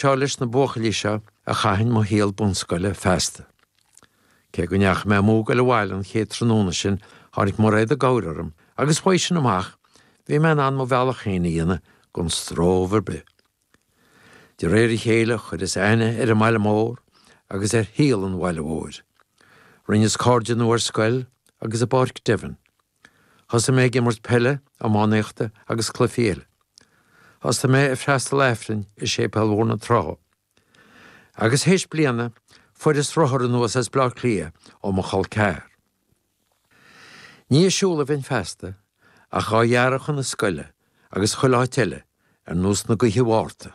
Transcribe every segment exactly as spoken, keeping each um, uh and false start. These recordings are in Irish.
seo leis na buachaillí seo a chaithfinn mo shaol bunscoile feasta. Cé go ndeachaigh mé amú ag goil abhaile an chéad tráthnóna sin tháinig Mairéad i gcabhair orm agus uaidh sin amach bhí mé in ann mo bhealach féin a dhéanamh gan stró ar bith. De réir a chéile chuireas aithne ar an mbaile mór agus ar shaol an bhaile mhóir. Rinneas cairde nua ar scoil agus i bPáirc Devon. Thosaigh mé ag imirt peile, iománaíochta agus cluichí eile. Thosaigh mé ag freastal Aifrinn i Séipéal Bhóthar na Trá. Agus théis bliana fuaireas rothar anuas as Bleá Cliath ó mo chol ceathar. Ní ag siúl a bheinn feasta ach á ghearradh chun na scoile agus chuile áit eile ar nós na gaoithe Mhárta.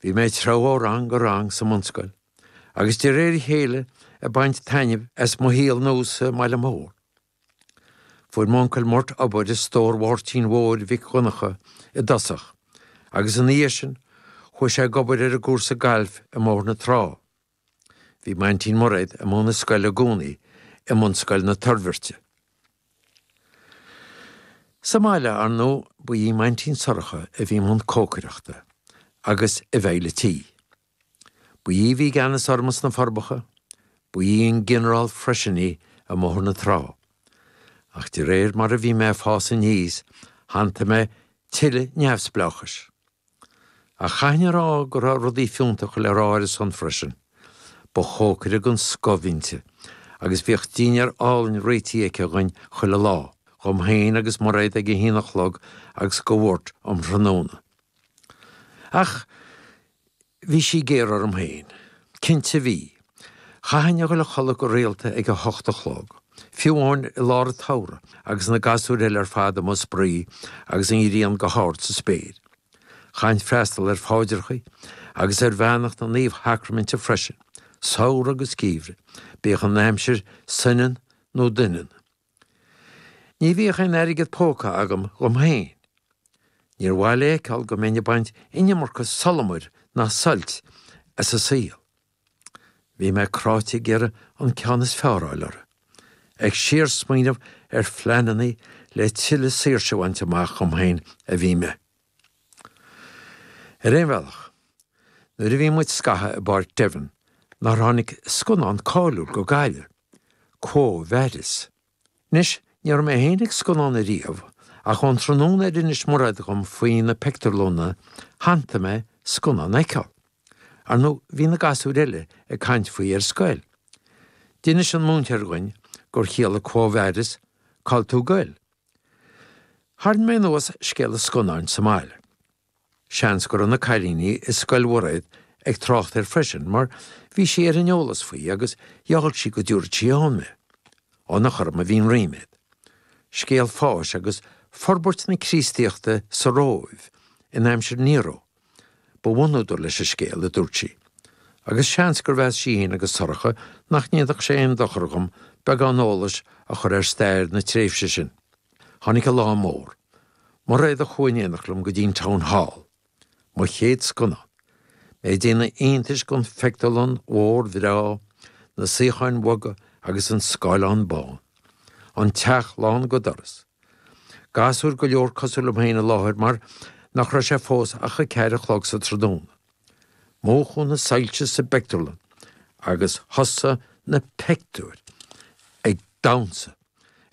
Bhí mé ag treabhadh ó rang go rang sa mbunscoil, agus de réir a chéile ag baint taitnimh as mo shaol nua sa mbaile mór. Fuair m'uncail Murt obair i stór Mháirtín Mhóir Mhic Dhonncha i dtosach, agus ina dhiaidh sin chuaigh sé ag obair ar an gcúrsa gailf i mBóthar na Trá. Bhí m'aintín Mairéad ag múineadh scoile i gcónaí i mbunscoil na Toirbhirte. Sa mbaile, ar ndóigh, ba í m'aintín Sorcha a bhí i mbun cócaireachta agus i bhfeighil an tí. Ba í a bhí i gceannas orm sna Forbacha, ba í an ginearál freisin í i mBóthar na Trá. Ach de réir mar a bhí mé ag fás aníos, shantaigh mé tuilleadh neamhspleáchais. Ach chaithfinn a rá go raibh rudaí fiúntacha le rá ar a son freisin. Ba chócaire den scoth inti, agus bhíodh dinnéar álainn réitithe aici dhuinn chuile lá, dhom féin agus Mairéad ag a haon a chlog agus do Mhurt um thráthnóna. Ach bhí sí géar orm féin. Cinnte bhí. Chaithfinn a dhul a chodladh go rialta ag a hocht a chlog, fiú amháin i lár an tsamhraidh agus na gasúir eile ar fad amuigh ag spraoi agus an ghrian go hard sa spéir. Chaithfinn freastal ar phaidreacha agus ar bheannacht na Naomhshacraiminte freisin, samhradh agus geimhreadh, bíodh an aimsir soineann nó doineann. Ní bhíodh aon airgead póca agam dhom féin. Níor mhaith léi a fheiceáil go mbeinn ag baint an iomarca solamair ná suilt as an saol. Bhí mé cráite ag iarraidh an ceann is fearr a fháil orthu, ag síorsmaoineamh ar phleananna le tuilleadh saoirse a bhaint amach dhom féin a bhí mé. Ar aon bhealach, nuair a bhí muid scaitheamh i bPáirc Devon nár tháinig scannán cáiliúil go Gaillimh, Quo Vadis. Anois, ní raibh mé féin ag scannán ariamh, ach ón tráthnóna ar inis Mairéad dhom faoi na pictiúrlanna, shantaigh mé scannán a fheiceáil. Ar ndóigh, bhí na gasúir eile ag caint faoi ar scoil. D'inis an múinteoir dhuinn gur chiallaigh Quo Vadis, Cá bhfuil tú ag goil? Tharraing mé anuas scéal an scannáin sa mbaile. Seans go raibh na cailíní i scoil Mhairéad ag trácht air freisin mar bhí sí ar an eolas faoi agus gheall sí go dtabharfadh sí ann mé. Ionadh orm a bhí an ríméad. Scéal fáis agus forbairt na Críostaíochta sa Róimh in aimsir Nero ba bhunúdar leis an scéal, a dúirt sí. Agus seans gur mheas sí féin agus Sorcha nach ndéanfadh sé aon dochar dhom beagán eolais a chur ar stair na tréimhse sin. Tháinig an lá mór. Mairéad a chuaigh in éineacht liom go dtí an Town Hall. Mo chéad scannán. Mé ag déanamh iontais den phictiúrlann mhór bhreá, na suíocháin bhoga agus an scáileán bán. An teach lán go doras. Gasúir go leor cosúil liom féin i láthair mar nach raibh sé fós ach a ceathair a chlog sa tráthnóna. Múchadh na soilse sa bpictiúrlann agus thosaigh na pictiúir ag damhsa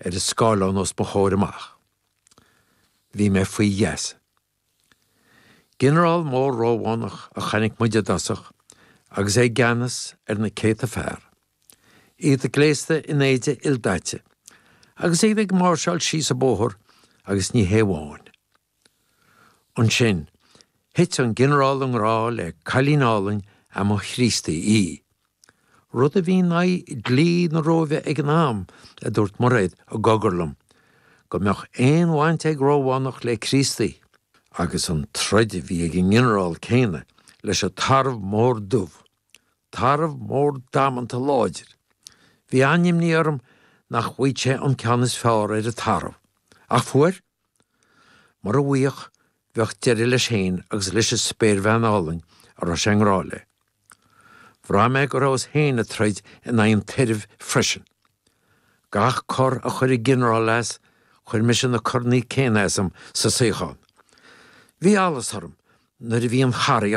ar an scáileán os mo chomhair amach. Bhí mé faoi gheasa. Ginearál mór Rómhánach a chonaic muid i dtosach agus é i gceannas ar na céadta fear, iad gléasta in éide ildaite agus iad ag máirseáil síos an bóthar agus ní hé amháin. Ansin, thit an ginearál i ngrá le cailín álainn a mba Chríostaí í. Rud a bhí in aghaidh dlí na Róimhe ag an am, a dúirt Mairéad i gcogar liom, go mbeadh aon bhaint ag Rómhánach le Críostaí. Agus an troid a bhí ag an nginearál céanna leis an tarbh mór dubh. Tarbh mór damanta láidir. Bhí an-imní orm nach bhfaigheadh sé an ceann is fearr ar an tarbh. Ach fuair. Mura bhfaigheadh, bheadh deireadh leis féin agus leis an spéirbhean álainn a raibh sé i ngrá léi. Bhraith mé go rabhas féin ag troid in aghaidh an tairbh freisin. Gach cor a chuir an ginearál as, chuir mise na coranna céanna asam sa suíochán. Bhí allas orm nuair a bhí an charraig